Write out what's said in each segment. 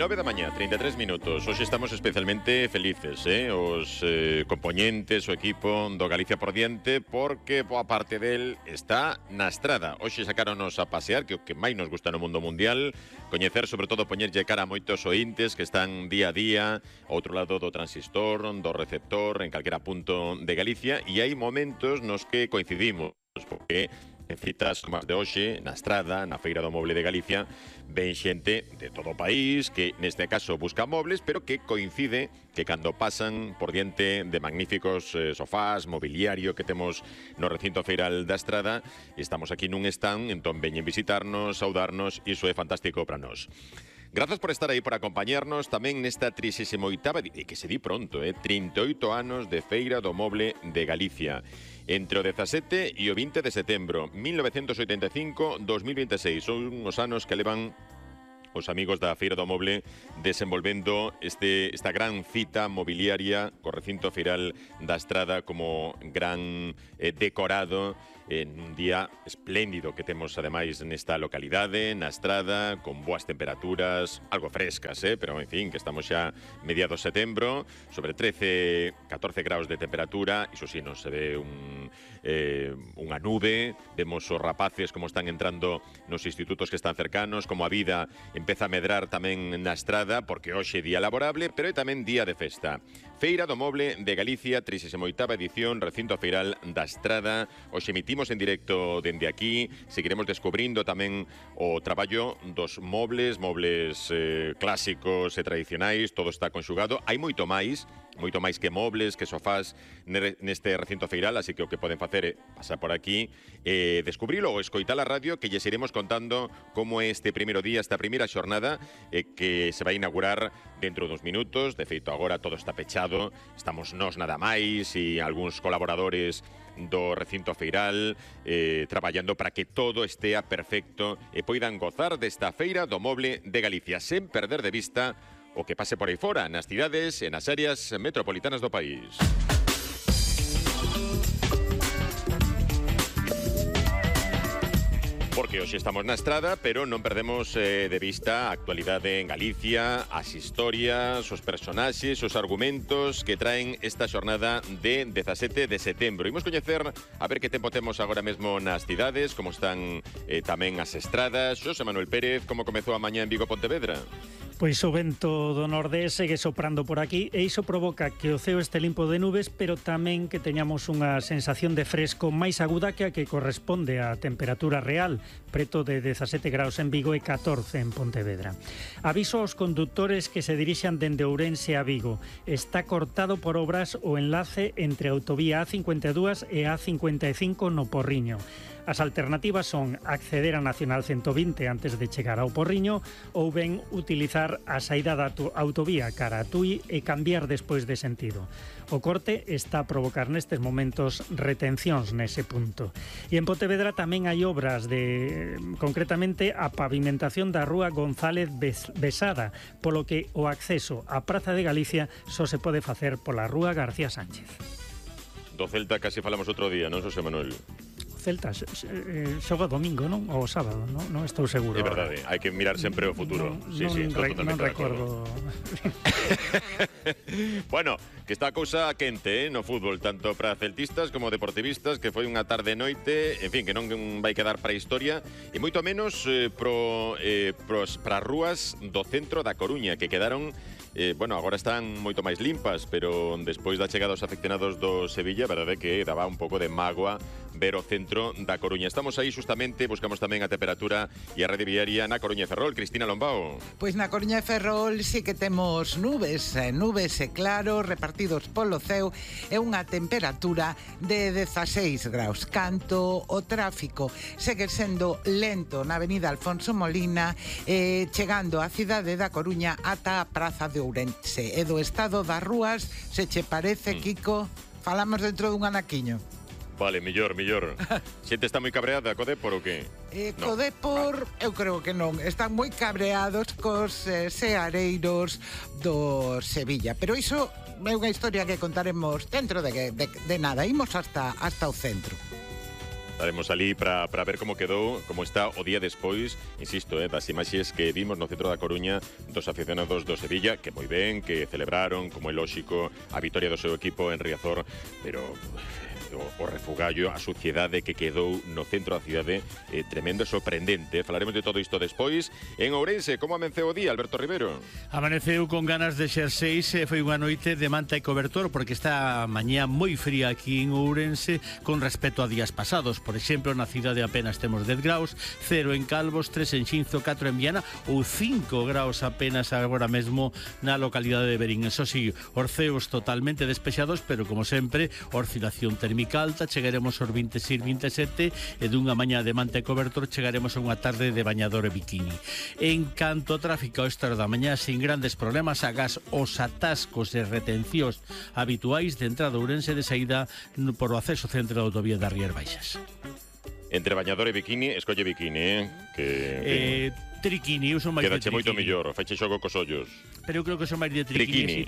9 da mañá, 33 minutos. Hoxe estamos especialmente felices, os compoñentes, o equipo do Galicia por diante, porque boa parte del está na estrada. Hoxe sacáronos a pasear, que o que máis nos gusta no mundo mundial, coñecer, sobre todo, poñerlle cara a moitos ointes que están día a día ao outro lado do transistor, do receptor, en calquera punto de Galicia, e hai momentos nos que coincidimos, porque en citas como as de hoxe, na estrada, na Feira do Moble de Galicia, ven xente de todo o país que neste caso busca mobles, pero que coincide que cando pasan por diante de magníficos sofás, mobiliario que temos no recinto feiral da estrada, estamos aquí nun stand, entón veñen visitarnos, saudarnos, e iso é fantástico para nós. Grazas por estar aí, por acompañarnos tamén nesta 38ª, e que se di pronto, 38 anos de Feira do Moble de Galicia. Entre o 17 e o 20 de setembro, 1985-2026. Son uns anos que levan os amigos da Feira do Moble desenvolvendo esta gran cita mobiliaria co recinto feiral da estrada como gran decorado en un día espléndido que temos ademais nesta localidade, na estrada, con boas temperaturas, algo frescas, pero en fin, que estamos xa mediados de setembro, sobre 13-14 graus de temperatura, iso sí, non se ve unha nube, vemos os rapaces como están entrando nos institutos que están cercanos, como a vida empeza a medrar tamén na estrada, porque hoxe é día laborable, pero é tamén día de festa. Feira do Moble de Galicia, 38ª edición, recinto feiral da estrada. Hoxe emitimos en directo dende aquí, seguiremos descubrindo tamén o traballo dos mobles clásicos e tradicionais, todo está conxugado. Hai moito máis que mobles, que sofás neste recinto feiral, así que o que poden facer é pasar por aquí, descubrilo ou escoitar a radio, que lles iremos contando como é este primeiro día, esta primeira xornada, que se vai inaugurar dentro duns minutos. De feito, agora todo está pechado, estamos nós nada máis e algúns colaboradores do recinto feiral traballando para que todo estea perfecto e poidan gozar desta Feira do Moble de Galicia sen perder de vista o que pase por aí fora, nas cidades e nas áreas metropolitanas do país. Porque hoxe estamos na estrada, pero non perdemos de vista a actualidade en Galicia, as historias, os personaxes, os argumentos que traen esta xornada de 17 de setembro. Imos coñecer a ver que tempo temos agora mesmo nas cidades, como están tamén as estradas. Xosé Manuel Pérez, como comezou a mañá en Vigo, Pontevedra? Pois o vento do nordés segue soprando por aquí e iso provoca que o ceo este limpo de nubes, pero tamén que teñamos unha sensación de fresco máis aguda que a que corresponde á temperatura real, preto de 17 graus en Vigo e 14 en Pontevedra. Aviso aos condutores que se dirixan dende Ourense a Vigo. Está cortado por obras o enlace entre a autovía A52 e A55 no Porriño. As alternativas son acceder a Nacional 120 antes de chegar ao Porriño ou ben utilizar a saída da autovía cara a Tui e cambiar despois de sentido. O corte está a provocar nestes momentos retencións nese punto. E en Pontevedra tamén hai obras concretamente a pavimentación da rúa González Besada, polo que o acceso á Praza de Galicia só se pode facer pola rúa García Sánchez. Do Celta casi falamos outro día, non, Xosé Manuel? Celta xoga domingo, non? Ou sábado, non estou seguro. É verdade, hai que mirar sempre o futuro. Non recordo. Bueno, que está a cousa quente no fútbol, tanto para celtistas como deportivistas, que foi unha tarde e noite, en fin, que non vai quedar para a historia, e moito menos para as rúas do centro da Coruña, que quedaron agora están moito máis limpas, pero despois da chegada dos afeccionados do Sevilla, a verdade é que daba un pouco de mágoa ver o centro da Coruña. Estamos aí justamente, buscamos tamén a temperatura e a rede viaria na Coruña e Ferrol. Cristina Lombao. Pois na Coruña e Ferrol sí que temos nubes e claro, repartidos polo ceo, e unha temperatura de 16 graus. Canto o tráfico segue sendo lento na avenida Alfonso Molina, chegando á cidade da Coruña ata a Praza de Ourense. E do estado das rúas, se che parece, Kiko, falamos dentro dun anaquiño. Vale, mellor. Xente está moi cabreada co Dépor ou que? Co Dépor, eu creo que non. Están moi cabreados cos seareiros do Sevilla. Pero iso é unha historia que contaremos dentro de nada. Imos hasta o centro. Estaremos ali para ver como quedou, como está o día despois, insisto, das imaxes que vimos no centro da Coruña dos aficionados do Sevilla, que moi ben, que celebraron, como é lóxico, a vitoria do seu equipo en Riazor, pero o refugallo, a suciedade que quedou no centro da cidade, tremendo e sorprendente. Falaremos de todo isto despois. En Ourense, como amenceu o día, Alberto Rivero? Amaneceu con ganas de xerseis, foi unha noite de manta e cobertor, porque está a mañá moi fría aquí en Ourense con respecto a días pasados. Por exemplo, na cidade apenas temos 10 graus, 0 en Calvos, 3 en Xinzo, 4 en Viana ou 5 graus apenas agora mesmo na localidade de Verín. Eso sí, os ceos totalmente despexados, pero como sempre, oscilación térmica alta, chegaremos aos 26, 27 e dunha mañá de manta e cobertor chegaremos a unha tarde de bañador e bikini. En canto ao tráfico a esta hora da mañá, sin grandes problemas, agás os atascos e retencións habituais de entrada a Ourense de saída por o acceso centro da autovía das Rías Baixas. Entre bañador e bikini, escolle bikini, que triquini, eu son máis de quedache triquini. moito mellor, feche xogo cos ollos. Pero eu creo que son máis de triquini.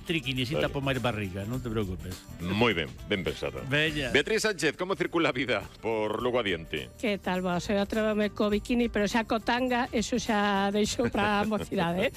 Triquini. Si tapo máis barriga, non te preocupes. Moi ben, ben pensado. Veña. Beatriz Sánchez, como circula a vida por Lugo Adiente? Que tal, vos? Eu atrévame co bikini, pero xa co tanga, eso xa deixou para a mocidade,